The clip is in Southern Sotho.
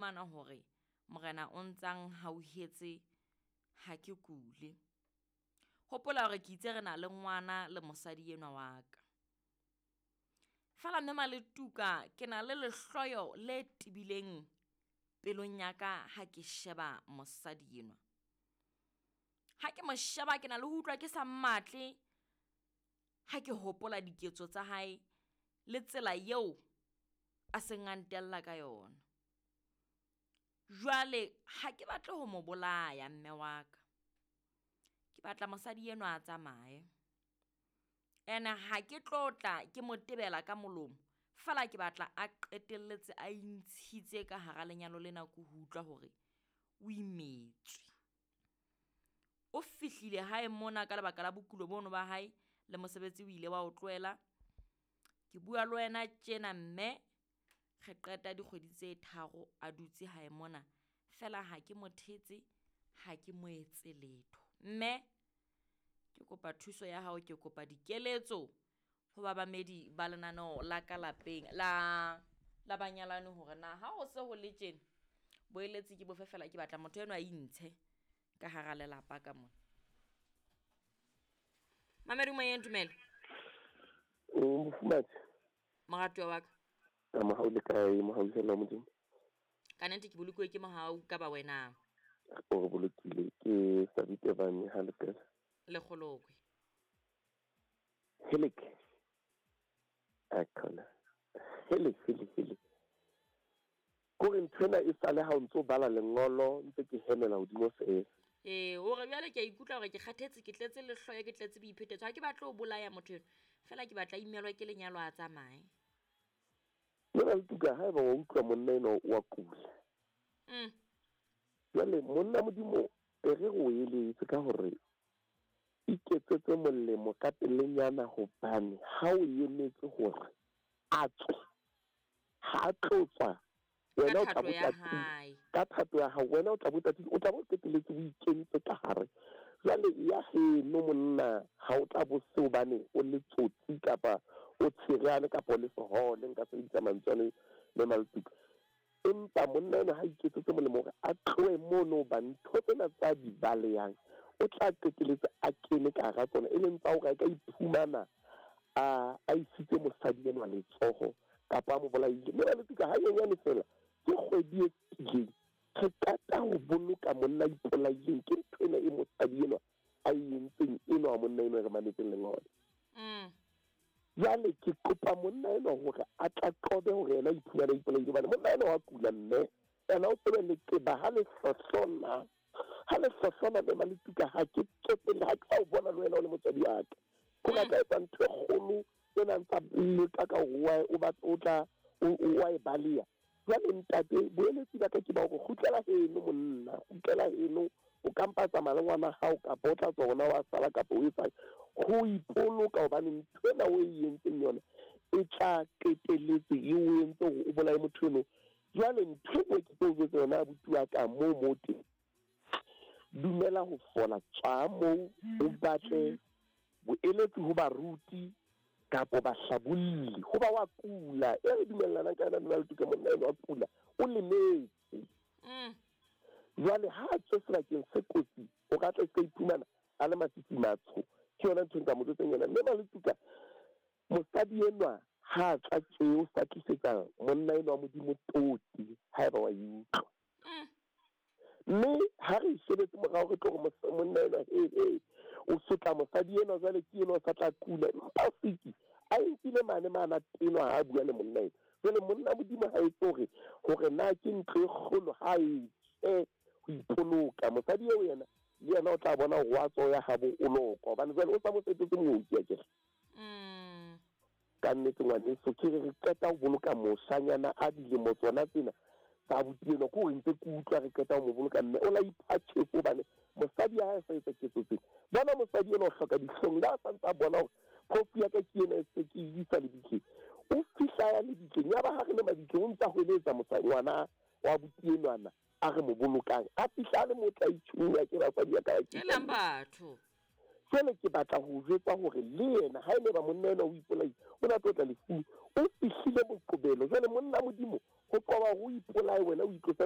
Fumana hore Morena o ntsa nhauhetse ha ke kule. Hopola hore ke itse re na le ngwana le mosadi enwa wa ka. Feela mme Maletuka ke na le lehloyo le tebileng pelong ya ka ha ke sheba mosadi enwa. Ha ke mo sheba ke na le ho utlwa ke sa mmatle ha ke hopola diketso tsa hae le tsela eo a seng a ntella ka yona. Jwale ha ke batle ho mo bolaya mme wa ka. Ke batla mosadi enwa a tsamaye. Ene ha ke tlo tla ke mo tebela ka molomo, feela ke batla a qetelletse a intshitse ka hara lenyalo lena ke ho utlwa hore o imetswe. O fihlile hae mona ka lebaka la bokulo bono ba hae le mosebetsi o ile wa o tlohela. Ke bua le wena tjena mme re qeta dikgwedi tse tharo a dutse hae mona. Feela ha ke mo thetse, ha ke mo etse letho. Mme ke kopa thuso ya hao, ke kopa dikeletso ho babamedi ba lenaneo la ka lapeng la la banyalani hore na ha ho se ho le tjena boeletsi ke bofe fela ke batla motho enwa a intshe ka hara lelapa ka mona. Mamedi moyeng, dumela. Mofumahadi. Moratuwa wa ka. Ka mohau le kae, mohau fela wa Modimo? Ka nnete ke bolokuwe ke mohau ka ba wena. O re bolokile ke Sabite Bane ha lepela. Lekgolokwe. Helek. Akhona. Hele, hele, hele. Kore nthwena e sale ha o ntso bala lengolo ntse ke hemela hodimo feela. Ee, hore jwale ke a ikutlwa hore ke kgathetse, ke tletse lehloyo, ke tletse boiphetetso. Ha ke batle ho bolaya motho enwa, feela ke batla imelwa ke lenyalo a tsamaye. Mona Letuka, haeba wa utlwa monna enwa wa kula. Jwale monna Modimo e re o eletse ka hore iketsetse molemo ka pelenyana hobane ha o emetse hore a tswe, ha a tlo tswa, wena o tla bo tatile ka thato ya hao, wena o tla bo tatile, o tla bo qetelletse o ikentse ka hare. Jwale ya heno monna ha o tla bo se hobane o le tsotsi kapa o tshereane kapa o le sehole, nka sebedisa mantswe ano mme Maletuka. Empa monna enwa ha iketsetse molemo hore a tlohe mono hoba ntho tsena tsa di balehang o tla qetelletse a kene ka hara tsona, e leng tsa hore a ka iphumana a a isitse mosadi enwa letsoho kapa a mo bolaile. Mme Maletuka hanyenyane feela ke kgwedi e fetileng re qeta ho boloka monna a ipolaileng ke ntho ena e mosadi enwa a e entseng enwa wa monna enwa e re mametseng lengolo. Jwale ke kopa monna enwa hore a tla qobe hore yena a iphumane a ipolaile hobane monna enwa wa kula mme ena o tsebe leqeba ha le hlohlona, ha le hlohlona mme Maletuka ha ke tsotelle ha ke sa o bona le wena o le motswadi wa ka. Hore a ka etsa ntho e kgolo ena ntsa leka ka hore o batla o tla o wa e baleha. Jwale ntate boeletsi ba ka ke ba hore kgutlela heno monna, kgutlela heno o ka mpa tsamaya le ngwana hao kapa o tla tswa hona wa sala kapa o etsang ho ipoloka hobane ntho ena o e entseng yona e tla qetelletse e o entse hore o bolaye motho eno. Jwale ntho e nngwe ke tlo o jwetsa yona abuti wa ka moo mo teng. Dumela ho fola, tswa moo o batle boeletsi ho baruti kapa bahlabolli hoba wa kula. E re dumellanang ka yona mme Maletuka monna enwa wa kula, o lemetse. Jwale ha a tswe sebakeng se kotsi, o ka tla se iphumana a le masisi matsho. Ke yona ntho e nka mo jwetsang yona. Mme Maletuka, mosadi enwa ha a tswa tje o sa tlisetsa monna enwa wa Modimo toti haeba wa e utlwa. Mme ha re shebetse morao re tlo re monna enwa he he o sotla mosadi enwa jwale ke enwa o sa tla kula. Empa siki a nkile mane mana tenwa ha a bua le monna enwa. Jwale monna Modimo ha etse hore hore na ke ntlo e kgolo ha e tswe ho ipoloka. Mosadi eo yena le yena o tla bona hore wa tswa ya habo o lokwa hobane jwale o sa mo fetotse mooki akere. Ka nnete ngwaneso ke re re qeta ho boloka moshanyana a dilemo tsona tsena tsa abuti enwa, ke hore ntse ke utlwa re qeta ho mo boloka mme o la ipha tjhefo hobane mosadi ya hae a sa etsa ketso tsena. Bona mosadi enwa o hloka dihlong le ha sa ntse a bona hore phofu ya ka ke ena e se ke e isa lebitleng. O fihla ya lebitleng ya ba ha re le mabitleng o ntsa hweletsa mosadi ngwana wa abuti enwana a re mo bolokang. A fihla a le motla itjhunya ke basadi ya ka ba Helang batho. Jwale ke batla ho jwetsa hore le yena ha e le ba monna enwa o ipolaile, o na tlo tla lefung, o fihlile Moqobelo. Jwale monna Modimo ho qoba hore o ipolaye wena o itlose.